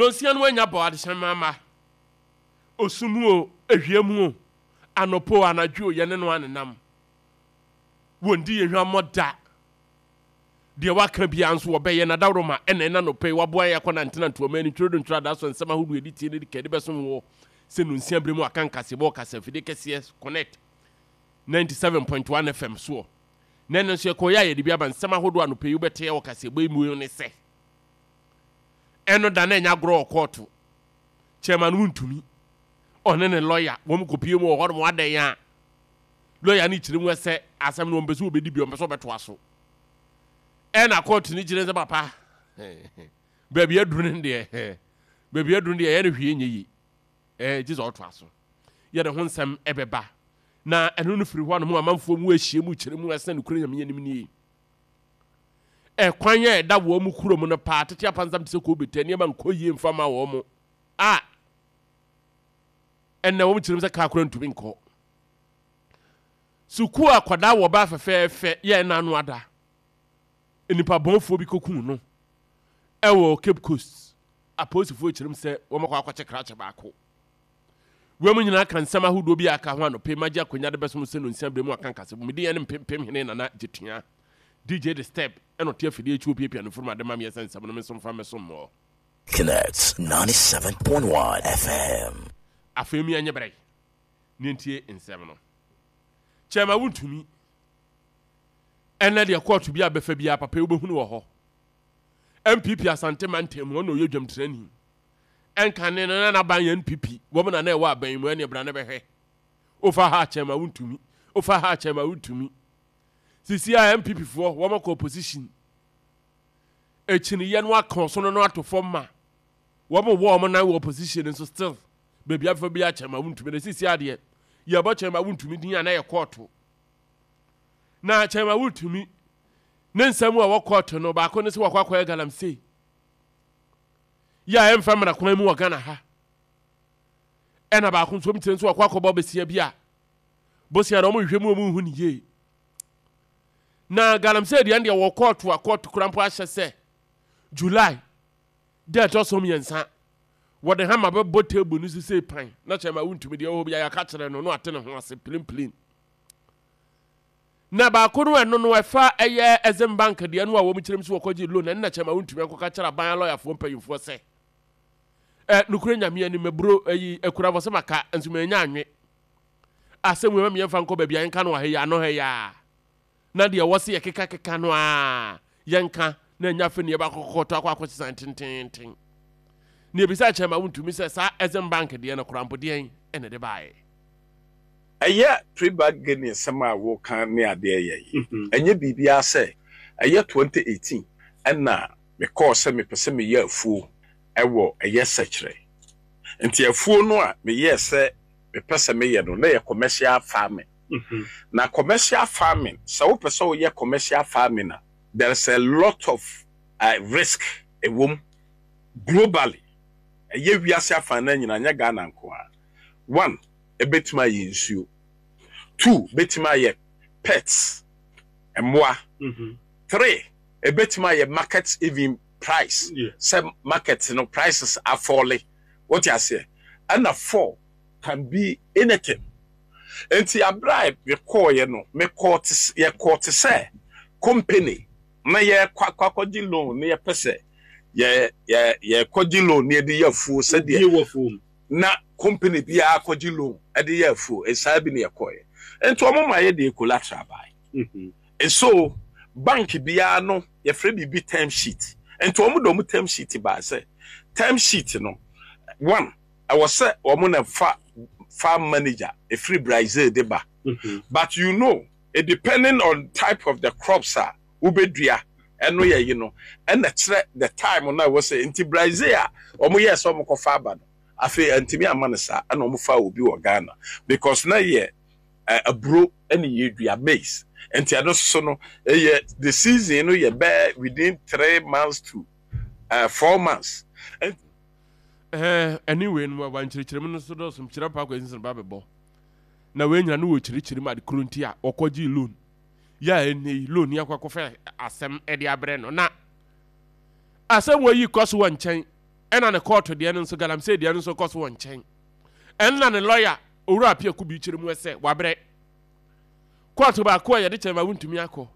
Nonsia no anya bɔ adehyɛmma mma. Osu mu o, awia mu o, anɔpa o, anadwo o, yɛne no anenam. Wɔndi yɛn hwammɔ da. Deɛ waka biara nso wɔbɛyɛ. N'adaworoma na ɛna anɔpa yi waboa yɛn akɔ nantenantew ɔman ani twerɛ do ntwerɛ adaso nsɛm ahodoɔ yɛde tie ne de ka de bɛsom woɔ sɛ nonsia berɛ mu aka nkaseɛbɔ wɔ kasafidie kɛseɛ Connect 97.1 FM soɔ. Na ɛno nso yɛkɔeɛ a yɛde bi aba nsɛm ahodoɔ anɔpa yi wobɛte wɔ kaseɛbɔ yi mu ne sɛ ɛno da na ɛnyɛ agorɔ wɔ kɔɔto. Chairman wontumi ɔne ne lɔya wɔn kɔpie mu wɔ hɔnom adɛn a lɔya no kyerɛ mu sɛ asɛm no wɔmpɛ sɛ wɔbɛdi bi wɔmpɛ sɛ wɔbɛtoa so. Ɛna kɔɔto no kyerɛ sɛ papa baabi aduru no deɛ baabi aduru no deɛ ɛyɛ no hwee nyɛ yie ɛɛ gye sɛ ɔtoa so. Yɛde ho nsɛm ɛbɛba na ɛno no firi hɔ a no mu amanfoɔ mu ahyia mu kyerɛ mu ɛsɛ nokorɛ Nyame anim nie. Ɛkwan a ɛda wɔn mu kurom no paa tete apansam te sɛ kobetɛ nneɛma nkɔ yie mfa ma wɔn mo a ɛnɛ wɔn kyerɛ mu sɛ kaa kora ntumi nkɔ. Sukuu akwadaa wɔ baa fɛfɛɛfɛ yɛ ɛna ano ada nnipa bɔnfoɔ bi kɔkuu no ɛwɔ Cape Coast. Apolisifoɔ kyerɛ mu sɛ wɔn akɔ akɔkyɛ krakye baako. Wei mu nyinaa ka nsɛm ahodoɔ bi a aka ho anɔpa yi magye akonya de bɛsom sɛ nonsia berɛ mu aka nkasɛbɔ. Me din ɛne Mpempem Hene Nana Gyetua. DJ The Step ɛna ɔte afidie akyi ɔpiapia no mfurum ade ma meɛ sɛ nsɛm no me nso mfa mmɛsom mo. Connect 97.1 FM. Afei mi ɛnyɛ brɛ ne ntie nsɛm no. Kyɛma wontumi. Ɛnɛ deɛ kɔɔto bi a bɛfa biara papa yi wobɛhunu wɔ hɔ. NPP Asante mantam mu ɔna ɔyɛ dwamtirani. Ɛnkane no na n'aban yɛ NPP, wɔn na na ɛwɔ aban mu, ɛneɛ bra na bɛhwɛ. Wofa ha kyɛn ma wontumi, wofa ha kyɛn ma wontumi. Sisi a NPP foɔ wɔn akɔ opposition. Akyiniyɛ no aka ɔsono no ato fam ma wɔn wɔ wɔn nan wɔ opposition nso still baabi afa bi akyɛn ma wontumi. Na sisi adeɛ yɛbɔ kyɛn ma wontumi din a na yɛ kɔɔto. Na kyɛn ma wontumi ne nsɛm a ɛwɔ kɔɔto no baako ne sɛ wakɔ akɔyɛ galamsey. Yɛ a ɛmfa mmara kwan mu wɔ Ghana ha. Ɛna baako nso wɔn nso wakɔ akɔbɔ besia bi a bosia na wɔn hwehwɛ mu wɔn nhu ne yie. Na galamsey deɛ deɛ wɔ kɔɔto a kɔɔto kura mpo ahyɛ sɛ July da ɛtɔ so mmiɛnsa wɔde hama bɛbɔ table no so sei pan na kyerɛ ma wontumi deɛ ɛwɔ hɔ bi a yɛaka kyerɛ no na wate ne ho ase pilimpilim. Na baako no ɛno no ɛfa ɛyɛ Exim Bank deɛ no a wɔn kyerɛm so wɔkɔgye loan ɛno na kyɛma wontumi ankɔka kyerɛ aban alɔyafoɔ mpanyinfoɔ sɛ ɛ nokorɛ Nyame anim maburo ɛyi akura fɔ sɛ maka nso manya anwe asɛm wei ma meyɛmfa nkɔ baabi a yɛnka no wɔ ha yi ano ha yi a na deɛ ɛwɔ se yɛkeka keka no a yɛnka na ɛnya afei ne yɛbɛakɔkɔtɔ akɔ akɔsesan tententen na yɛbisa kyɛma wontumi sɛ saa Exim Bank deɛ no koraa mpo deɛn ɛna ɛde baeɛ. Ɛyɛ pre-bargaining nsɛm a woka ne adeɛ yɛ yi, ɛnyɛ biribiara sɛ ɛyɛ 2018 ɛna mekɔɔ sɛ mepɛ sɛ meyɛ afuo ɛwɔ ɛyɛ sɛkyerɛ. Nti afuo no a meyɛɛ sɛ mepɛ sɛ meyɛ no na ɛyɛ commercial farming. Na commercial farming, sɛ wopɛ sɛ woyɛ commercial farming a, there is a lot of risk ɛwɔ mu globally. Ɛyɛ wiase afanan nyinaa, nyɛ Ghana nko ara. One, ɛbɛtumi ayɛ nsuo. Two, bɛtumi ayɛ pets, mmoa. Three, ɛbɛtumi ayɛ market even price, sɛ market no prices afɔle. Wote aseɛ? Ɛna four, can be anything. Nti abere a mekɔɔyɛ no, mekɔɔ te yɛkɔɔ te sɛ company na yɛkɔ akɔ akɔgye loan na yɛpɛ sɛ yɛ yɛ yɛkɔgye loan na yɛde yɛ afuo sɛdeɛ na company biara kɔgye loan de yɛ afuo, saa bi na yɛkɔeɛ. Nti wɔn ma yɛ deɛ collateral bae. So bank biara no yɛfrɛ biribi term sheet. Nti wɔn de wɔn term sheet bae sɛ term sheet no one ɛwɔ sɛ wɔn na fa farm manager ɛfiri Brazil de ba. But you know it depending on type of the crops a wobɛdua ɛno yɛ yi no ɛna kyerɛ the time no a ɛwɔ sɛ nti Brazil a wɔn yɛɛ sɛ wɔn kɔfa aba no afei antumi amma no saa ɛna wɔn faa obi wɔ Ghana because na yɛ aburo ɛna yɛdua maize nti ɛno soso no ɛyɛ the season no yɛ bɛɛ within 3 months to 4 months. Ɛɛ ɛne wei no wa nkyerɛkyerɛ mu no so dɔɔso kyerɛ pa akɔ ɛsensɛn ba bɛbɔ na wei nyina no wɔ kyerɛkyerɛ mu ade koro nti a wɔkɔgye loan yɛ a ɛnnɛ yi loan yi akɔ akɔfa asɛm de abrɛ no na asɛm wɔ yi kɔ so wɔ nkyɛn. Ɛna ne kɔɔto deɛ no nso, galamsey deɛ no nso kɔ so wɔ nkyɛn. Ɛna ne lɔya, Owura Appiah Kubi kyerɛ mu sɛ wabrɛ. Kɔɔto baako a yɛde kyɛn ma wontumi akɔ.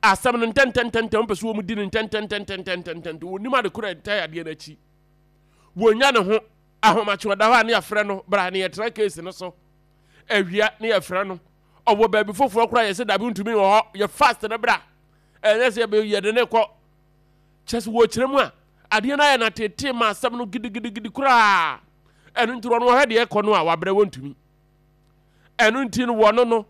Asɛm no ntɛntɛntɛntɛm, wɔpɛ sɛ wɔn di no ntɛntɛntɛntɛntɛntɛntɛm. Wɔnim ade korɔ a ɛtae adeɛ no akyi. Wɔnya ne ho ahomakye ɔda hɔ a ne yɛafrɛ no bra ne yɛtena case no so. Awia ne yɛfrɛ no. Ɔwɔ baabi foforɔ koraa yɛsɛ dabi ntumi wɔ hɔ yɛ fast no bra. Ɛnyɛ sɛ yɛde ne kɔ. Kyerɛ sɛ wɔkyerɛ mu a adeɛ no ayɛ no atetee ma asɛm no gidigidigidi koraa. Ɛno nti wɔn wɔhwɛ deɛ ɛkɔ no a wabrɛ wɔntumi. Ɛno nti no wɔno no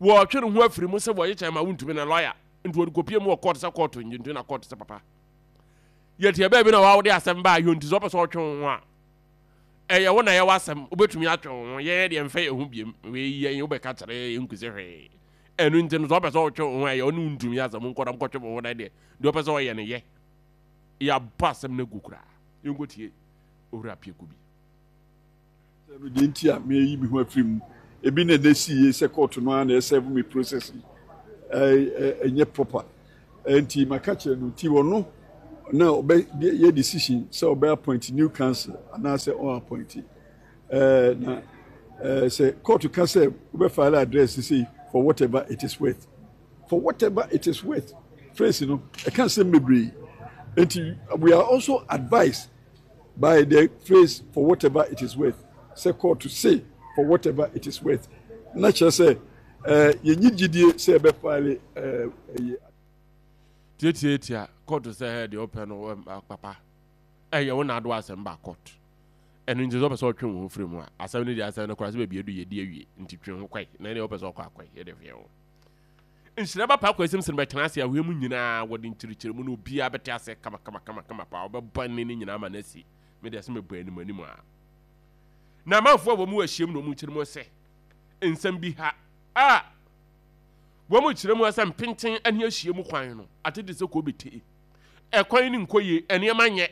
wɔtwe ne ho afiri mu sɛ wɔyɛ kyɛn ma wontumi na lɔya nti wɔde kɔpie mu wɔ kɔɔto sɛ kɔɔto ngye nti na kɔɔto sɛ papa yɛteɛ baabi na wɔde asɛm baa yɛ nti sɛ ɔpɛ sɛ ɔtwe wo ho a ɛyɛ wo na yɛwɔ asɛm wobɛtumi atwe wo ho yɛyɛ deɛ mfɛ yɛ ho biem wei yɛn wobɛka kyerɛ yɛ nkusi hwee ɛno nti no sɛ ɔpɛ sɛ ɔtwe wo ho a ɛyɛ ɔne wontumi asɛm nkɔdam kɔtwe wo ho na deɛ deɛ ɔpɛ sɛ ɔyɛ no yɛ yɛabɔ asɛm no agu koraa yɛnkɔtie owura pieko bi. Sɛ no deɛ nti a meyi me ho afiri mu ebi na ɛnɛ si yie sɛ kɔɔto no ara na ɛsɛve me process yi ɛnyɛ proper nti maka kyerɛ no nti ɔno na ɔbɛ yɛ decision sɛ ɔbɛ appoint new council anaasɛ ɔn appoint ɛɛ na ɛɛ sɛ kɔɔto ka sɛ wobɛ file address sei for whatever it is worth for whatever it is worth phrase no ɛka nsɛm bebree nti we are also advised by the phrase for whatever it is worth sɛ kɔɔto se for whatever it is worth na kyerɛ sɛ ɛɛ yɛnyi gyidie sɛ ɛbɛ file ɛɛ ɛyɛ. Tiatiatia kɔɔto sɛ ɛɛ deɛ ɔpɛ no papa ɛyɛ wo na ado asɛm ba kɔɔto ɛno nti sɛ ɔpɛ sɛ ɔtwe wo ho firi mu a asɛm no deɛ asɛm no koraa sɛ baabi adu yɛdi awie nti twe ho kɔe na ɛdeɛ ɔpɛ sɛ ɔkɔ akɔe yɛde hwɛ wo. Nhyira ba paa Kwasi Msene bɛtena ase ahoa mu nyinaa wɔde nkyerɛkyerɛmu no obiara bɛte ase kama kama kama kama paa wɔbɛbɔ nne no nyinaa ama no asi me deɛ sɛ mebɔ anim anim a na amanfoɔ a wɔn wɔ ahyiam na wɔn kyerɛ mu sɛ nsɛm bi ha a wɔn kyerɛ mu sɛ mpenten ne ahyiam kwan no atete sɛ kɔ bɛtee ɛkwan no nkɔ yie nneɛma nyɛ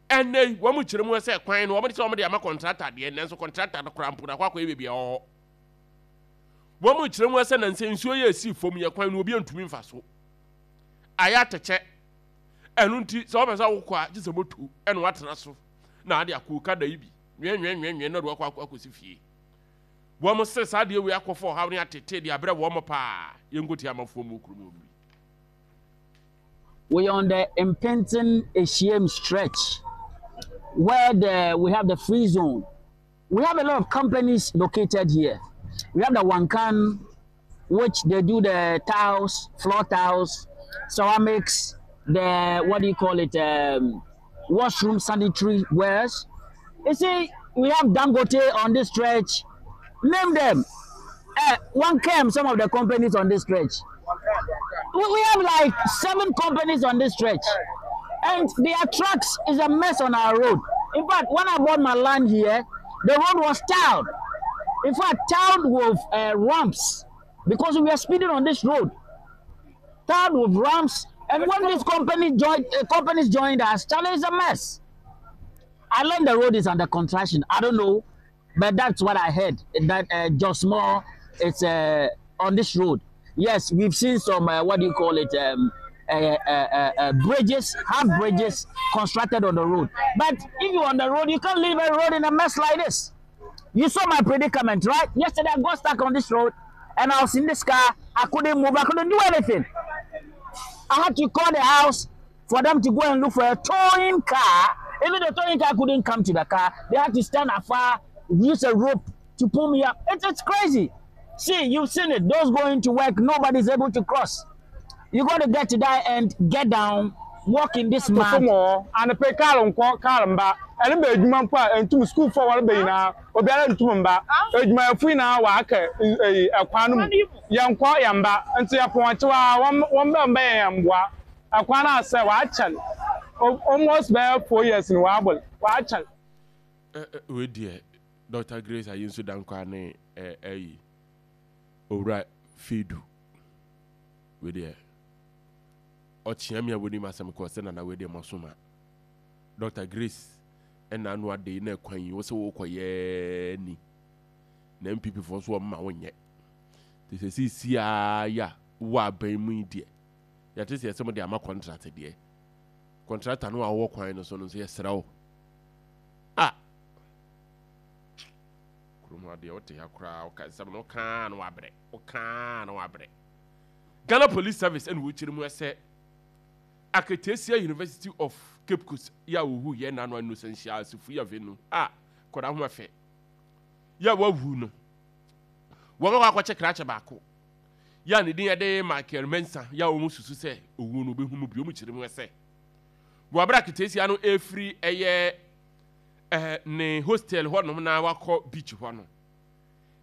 ɛnɛ yi wɔn kyerɛ mu sɛ kwan no wɔn de sɛ wɔn de ama kɔntrata deɛ nanso kɔntrata no koraa mpo na akɔ akɔyɛ baabi a ɛwɔ hɔ Wɔkyerɛ mu sɛ nansa nsuo yɛ esi fam yɛ kwan no obi ntumi mfa so. Ayɛ atɛkyɛ. Ɛno nti sɛ wɔpɛ sɛ wokɔ a gye sɛ moto ɛna watena so na ade akɔ okada yi bi nwɛnwɛnwɛnwɛn na de wakɔ akɔ akɔsi fie. Wɔn se saa adeɛ wei akɔfa ɔhaw ne atete de abrɛ wɔn paa. Yɛnkɔtie amafoɔ mu wɔ kurom hɔ bi. We are on the Impington Eshiem stretch where the, we have the free zone. We have a lot of companies located here. We have the Wankan, which they do the tiles, floor tiles, ceramics, the, what do you call it, washroom sanitary wares. You see, we have Dangote on this stretch. Name them. One came, some of the companies on this stretch. We have like 7 companies on this stretch. And their trucks is a mess on our road. In fact, when I bought my land here, the road was tiled. In fact, tiled with ramps because we were speeding on this road. Tiled with ramps. And when these companies joined us, Charlie is a mess. I learned the road is under construction. I don't know, but that's what I heard, that Justmoh is on this road. Yes, we've seen some, what do you call it, bridges, half bridges constructed on the road. But if you're on the road, you can't leave a road in a mess like this. You saw my predicament, right? Yesterday I got stuck on this road and I was in this car. I couldn't move, I couldn't do anything. I had to call the house for them to go and look for a towing car. Even the towing car couldn't come to the car. They had to stand afar, use a rope to pull me up. It's crazy. See, you've seen it. Those going to work, nobody's able to cross. You got to get to that and get down, walk in this mud. And pay car on car and back. And be adwuma mpo a ntum school for one be na obiara ntum mba adwuma fu na wa aka ekwan no mu ye nkɔ ye mba nti ye pon kyewa won be mba ye mboa ekwan na sɛ wa kyɛl almost be 4 years ni wa abol wa kyɛl. We deɛ Doctor Grace Ayinsu Dankwa ne ayi Owura Fidu we deɛ ɔkyea mi a wonim asɛm kɔ sɛ nana we deɛ mɔsoma Doctor Grace ɛna ano ade na ɛkwan yi wo sɛ wokɔ yɛ ni na NPP foɔ nso wɔn ma wonyɛ te sɛ sisi a ya wɔ aban mu yi deɛ yɛte sɛ yɛsɛ mo de ama contract deɛ. Kɔntrata no a wowɔ kwan no so no nso yɛsrɛ wo. Ah! Kurom ha deɛ wote ha koraa woka nsɛm no wokaa na wabrɛ wokaa na wabrɛ. Ghana Police Service ɛna wɔkyerɛ mu sɛ Aketesia University of Cape Coast yɛ a wɔhu yɛ nano Innocent Asifui Avenu a kɔda ho ɛfɛ yɛ a wawu no wɔn akɔ akɔkyɛ krakye baako yɛ a ne din de Michael Mensah yɛ a wɔn susu sɛ owu no obehu mu bi wɔn kyerɛ mu sɛ wɔ abere aketesia no efiri ɛyɛ ɛɛ ne hostel hɔnom na wakɔ beach hɔ no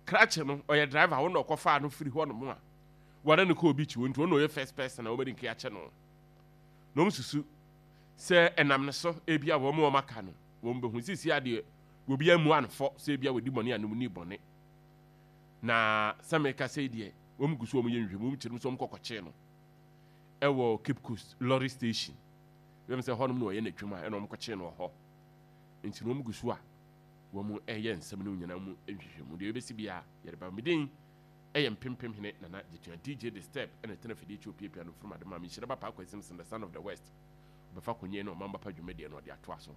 krakye no ɔyɛ driver wɔn na ɔkɔfaa no firi hɔnom a wɔne no kɔɔ beach hɔ nti wɔn na ɔyɛ first person a wɔde nke akyɛ no na wɔn susu sɛ ɛnam ne so ebi a wɔn wɔn aka no wɔn bɛhu sisi adeɛ obi amu anfɔ sɛ ebi a wɔdi bɔne anum ni bɔne. Na sɛ meka sei deɛ, wɔn gu so wɔn yɛ nhwehwɛmu, wɔn kyerɛ mu sɛ wɔn kɔ kɔkyee no ɛwɔ Cape Coast lorry station. Bɛm sɛ hɔnom na ɔyɛ n'adwuma ɛna wɔn kɔkyee no wɔ hɔ. Nti no wɔn gu so a wɔn ɛyɛ nsɛm no nyinaa mu nhwehwɛmu. Deɛ ɛbɛsi biara yɛde ba. Me din ɛyɛ Mpempem Hene Nana Gyetua DJ The Step ɛna ɛtena afidie akyi opiapia no from Adema. Menhyira ba Paa Kwasi Simpson the son of the West. Ɔbɛfa konye na ɔman ba pa dwumadie no ɔde atoa so.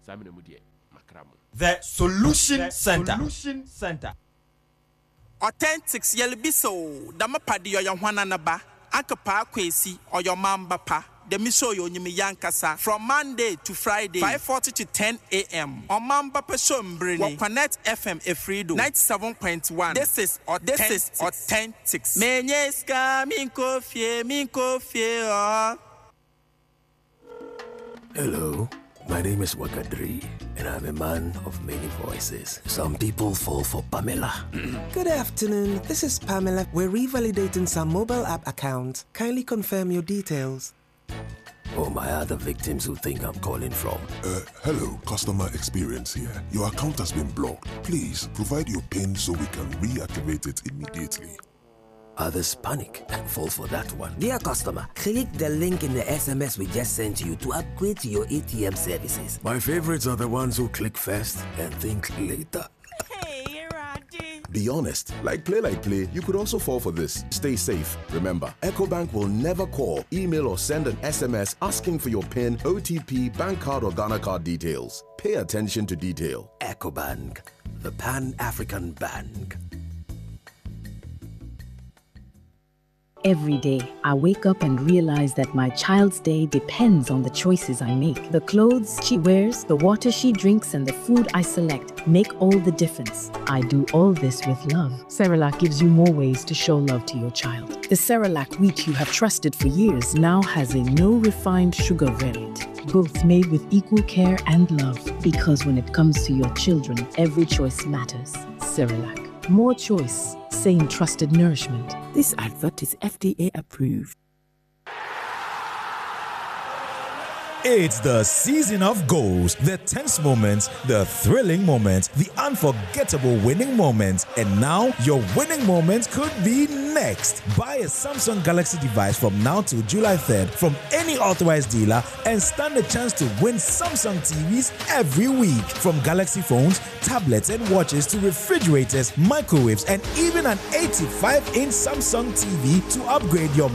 Saa mmerɛ mu deɛ makra mo. The Solution Center. Authentics yɛlebisa o, dɛm pa de ɔyɛ hwana ne ba? Anka Paa Kwesi, ɔyɛ ɔman ba pa, dɛm show yi onyim yɛ ankasa, from Monday to Friday, 5:40 to 10 am, ɔman ba pa show mber ni, wɔ Connect FM efiri do, 97.1, this is this is Authentics. Menye sika menkɔ fie, menkɔ fie oh. Hello, my name is Wakadri, and I'm a man of many voices. Some people fall for Pamela. Good afternoon, this is Pamela. We're revalidating some mobile app accounts. Kindly confirm your details. Or my other victims who think I'm calling from. Uh, hello, customer experience here. Your account has been blocked. Please provide your PIN so we can reactivate it immediately. Others panic and fall for that one. Dear customer, click the link in the SMS we just sent you to upgrade to your ATM services. My favorites are the ones who click first and think later. Be honest. Like play, like play, you could also fall for this. Stay safe. Remember, EcoBank will never call, email, or send an SMS asking for your PIN, OTP, bank card, or Ghana card details. Pay attention to detail. EcoBank, the Pan African Bank. Every day, I wake up and realize that my child's day depends on the choices I make. The clothes she wears, the water she drinks, and the food I select make all the difference. I do all this with love. Cerelac gives you more ways to show love to your child. The Cerelac wheat you have trusted for years now has a no refined sugar variant, both made with equal care and love. Because when it comes to your children, every choice matters. Cerelac. More choice, same trusted nourishment. This advert is FDA approved. It's the season of goals, the tense moments, the thrilling moments, the unforgettable winning moments. And now, your winning moment could be next. Buy a Samsung Galaxy device from now till July 3rd from any authorized dealer and stand a chance to win Samsung TVs every week. From Galaxy phones, tablets, and watches to refrigerators, microwaves, and even an 85 inch Samsung TV to upgrade your.